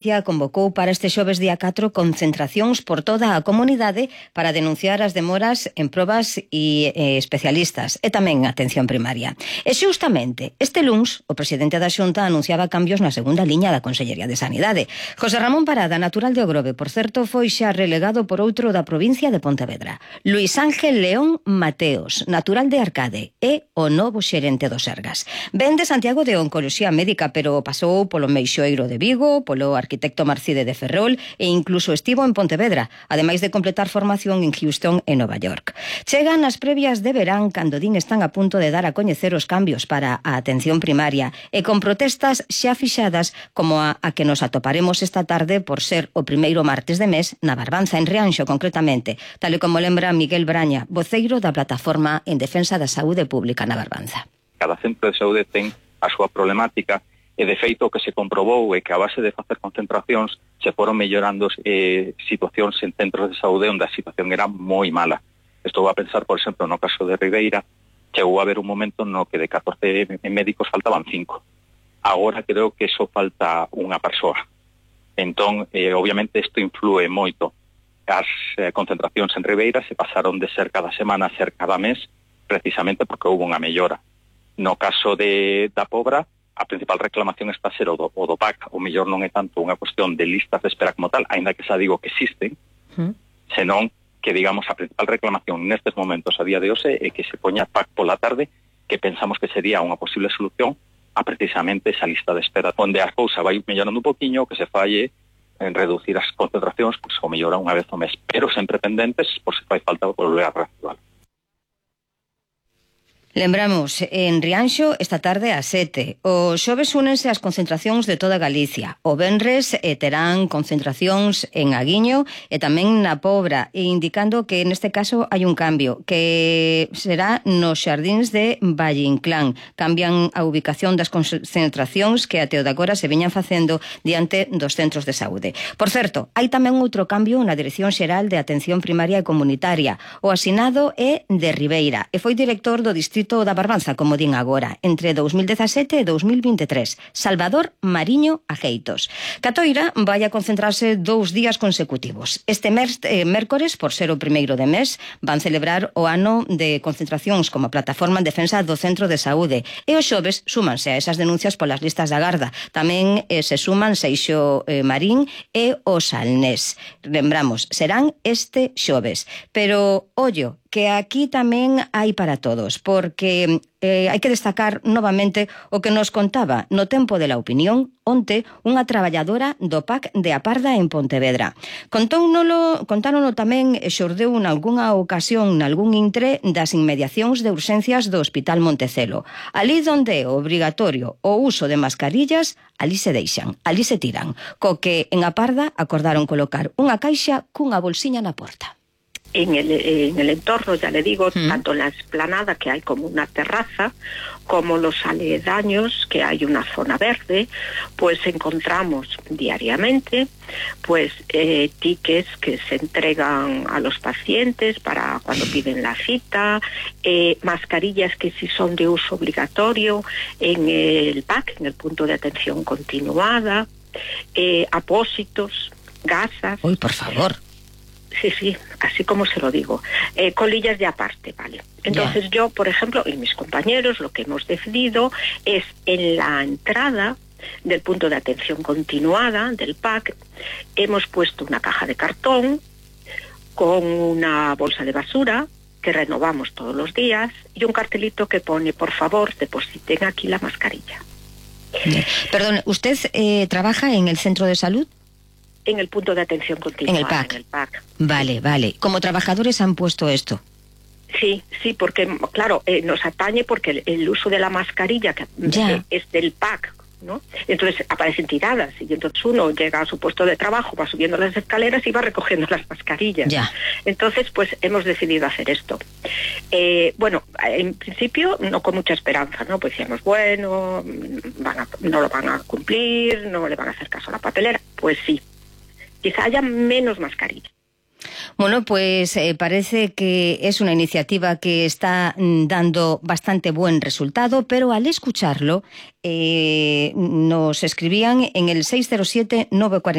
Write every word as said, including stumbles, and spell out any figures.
Convocou para este xoves día catro concentracións por toda a comunidade para denunciar as demoras en probas e eh, especialistas e tamén atención primaria. E xustamente este luns o presidente da Xunta anunciaba cambios na segunda liña da Consellería de Sanidade. José Ramón Parada, natural de Ogrove, por certo, foi xa relegado por outro da provincia de Pontevedra. Luís Ángel León Mateos, natural de Arcade, é o novo xerente do Sergas. Ven de Santiago de Oncoloxía Médica, pero pasou polo Meixoeiro de Vigo, polo arquitecto Marcide de Ferrol e incluso estivo en Pontevedra, ademais de completar formación en Houston e Nova York. Chegan as previas de verán cando din están a punto de dar a coñecer os cambios para a atención primaria e con protestas xa fixadas como a, a que nos atoparemos esta tarde por ser o primeiro martes de mes na Barbanza, en Rianxo concretamente, tal e como lembra Miguel Braña, voceiro da Plataforma en Defensa da Saúde Pública na Barbanza. Cada centro de saúde ten a súa problemática. E, de feito, o que se comprobou é que a base de facer concentracións se foron mellorando eh, situacións en centros de saúde onde a situación era moi mala. Estou a pensar, por exemplo, no caso de Ribeira, chegou a haber un momento no que de catorce médicos faltaban cinco. Agora creo que só falta unha persoa. Entón, eh, obviamente, isto influe moito. As eh, concentracións en Ribeira se pasaron de ser cada semana a ser cada mes, precisamente porque houve unha mellora. No caso de da Pobra, a principal reclamación está a ser o do, o do P A C, o mellor non é tanto unha cuestión de listas de espera como tal, aínda que xa digo que existen, uh-huh. senón que, digamos, a principal reclamación nestes momentos a día de hoxe é que se poña P A C pola tarde, que pensamos que sería unha posible solución a precisamente esa lista de espera, onde a cousa vai mellorando un poquinho, que se falle en reducir as concentracións, pois, o mellora unha vez ao mes, pero sempre pendentes, por se fai falta volver a reactivar. Lembramos, en Rianxo esta tarde ás sete. O xoves únense as concentracións de toda Galicia. O venres eh, terán concentracións en Aguiño e tamén na Pobra, e indicando que neste caso hai un cambio, que será nos xardíns de Valle Inclán. Cambian a ubicación das concentracións que até o de agora se viñan facendo diante dos centros de saúde. Por certo, hai tamén outro cambio na Dirección Xeral de Atención Primaria e Comunitaria. O asinado é de Ribeira e foi director do Distrito da Barbanza, como din agora, entre dous mil dezasete e dous mil vinte e tres. Salvador Mariño Ajeitos. Catoira vai a concentrarse dous días consecutivos. Este mes, eh, mércores, por ser o primeiro de mes, van celebrar o ano de concentracións como plataforma en defensa do centro de saúde. E os xoves súmanse a esas denuncias polas listas da Garda. Tamén eh, se suman Seixo eh, Marín e o Salnés. Lembramos, serán este xoves. Pero, ollo, que aquí tamén hai para todos, porque eh, hai que destacar novamente o que nos contaba no Tempo de la Opinión onte unha traballadora do P A C de A Parda en Pontevedra. Contónolo, contárono tamén e xordeu nalgúnha ocasión nalgún intre das inmediacións de urxencias do Hospital Montecelo. Ali donde é obrigatorio o uso de mascarillas, ali se deixan, ali se tiran, co que en A Parda acordaron colocar unha caixa cunha bolsiña na porta. En el, en el entorno, ya le digo, mm. tanto en la explanada, que hay como una terraza, como los aledaños, que hay una zona verde, pues encontramos diariamente pues eh, tickets que se entregan a los pacientes para cuando piden la cita, eh, mascarillas que sí son de uso obligatorio en el P A C, en el punto de atención continuada, eh, apósitos, gasas. Uy, por favor. Sí, sí, así como se lo digo. Eh, colillas de aparte, ¿vale? Entonces yeah. yo, por ejemplo, y mis compañeros, lo que hemos decidido es en la entrada del punto de atención continuada del P A C, hemos puesto una caja de cartón con una bolsa de basura que renovamos todos los días y un cartelito que pone, por favor, depositen aquí la mascarilla. Yeah. Perdón, ¿usted eh, trabaja en el centro de salud? En el punto de atención continuada. En el P A C. En el P A C. Vale, vale. ¿Como trabajadores han puesto esto? Sí, sí, porque, claro, eh, nos atañe porque el, el uso de la mascarilla que ya. es del P A C, ¿no? Entonces aparecen tiradas y entonces uno llega a su puesto de trabajo, va subiendo las escaleras y va recogiendo las mascarillas. Ya. Entonces, pues hemos decidido hacer esto. Eh, bueno, en principio no con mucha esperanza, ¿no? Pues decíamos, bueno, van a, no lo van a cumplir, no le van a hacer caso a la papelera. Pues sí. Quizá haya menos mascarillas. Bueno, pues eh, parece que es una iniciativa que está mm, dando bastante buen resultado, pero al escucharlo eh, nos escribían en el seis cero siete nueve cuatro